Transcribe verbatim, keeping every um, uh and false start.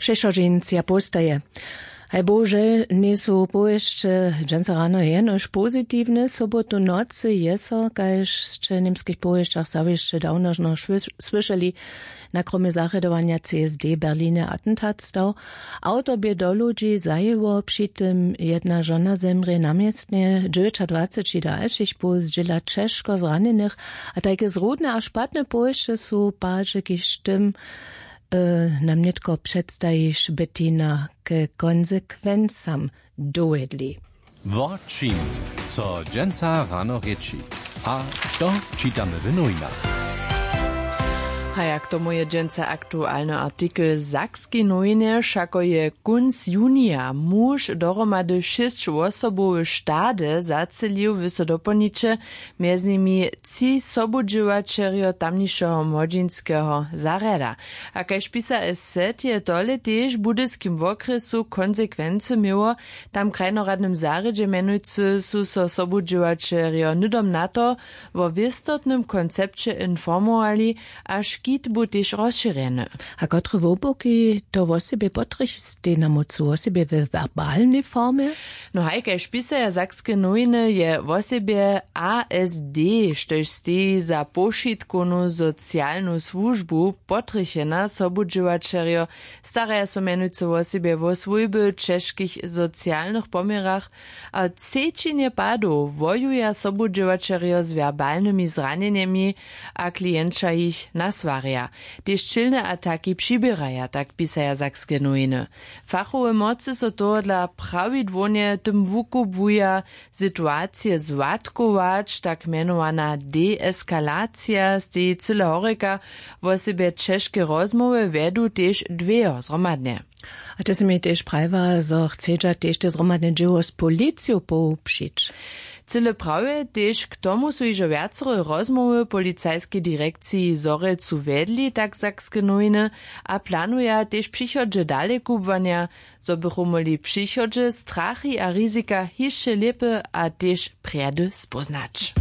Přechodźencija postaje. Haj bohužel njejsu powěsće dźensa rano jenož pozitiwne. Sobotu w nocy je so, kaž sće w němskich powěsćach zawěsće dawno žno słyšeli, na kromje zarjadowanja csd w berlinje atentat stał. Awtor bě do ludźi zajěło, při tym jedna žona zemrě na městnje, dźewjećadwaceći dalšich poł zdźěla ćežko zranjenych. A tajke zrudne a špatne powěsće su pažekiž tym nam nětko předstajiš, Bettina, ke konsekwencam dowjedli. Wo čim so dźensa rano rěči, a to čitamy w nowinach. A jak tomu je dźensa aktualny artikel w sakskej nowinje, wšako je kónc junija muž dohromady šěsćosobowy štady zacelił, wy so dopolniće, mjez nimi tři sobudźěłaćerjo tamnišeho młodźinskeho zarjada. A kaž pisa sz je tole tež w budyskim wokrjesu konsekwency měło. Tam w krajnoradnym zarjedźe mjenujcy su so sobudźěłaćerjo hnydom na to wo wěstotnym koncepće informowali, a škit bu tež rozšěrjeny. A kotre wobłuki to wosebje potrjech stej na mócu wosebje we werbalnej formje? No haj kaž pisaja sakske nowiny je wosebje a s d, štož steji za powšitkownu socialnu słužbu, potrjechena. Sobudźěłaćerjo staraja so mjenujcy wosebje wo swójby w ćežkich socialnych poměrach, a třećinje padow wojuja sobudźěłaćerjo z werbalnymi zranjenjemi a klienća jich naswarja. Tež ćělne ataki přiběraja, tak pisaja sakske nowiny. Fachowe mocy so tohodla prawidłownje tym wukubłuja situacije złatkować. Tak mjenowana deeskalacija steji cyle horjeka. Wosebje ćežke rozmołwy wjedu tež dwejo zhromadnje. A ty sy mi tež prajiła, zo chcedźa tež te zhromadne dźěło z policiju połupšić. Cyle prawje, tež k tomu su hižo wjacore rozmołwy w policajskej direkciji w zhorjelcu wjedli, tak sakske nowiny, a planuja tež w přichodźe dale kubłanja, zo bychu móhli w přichodźe strachy a rizika hišće lěpy a tež prjedy spóznać.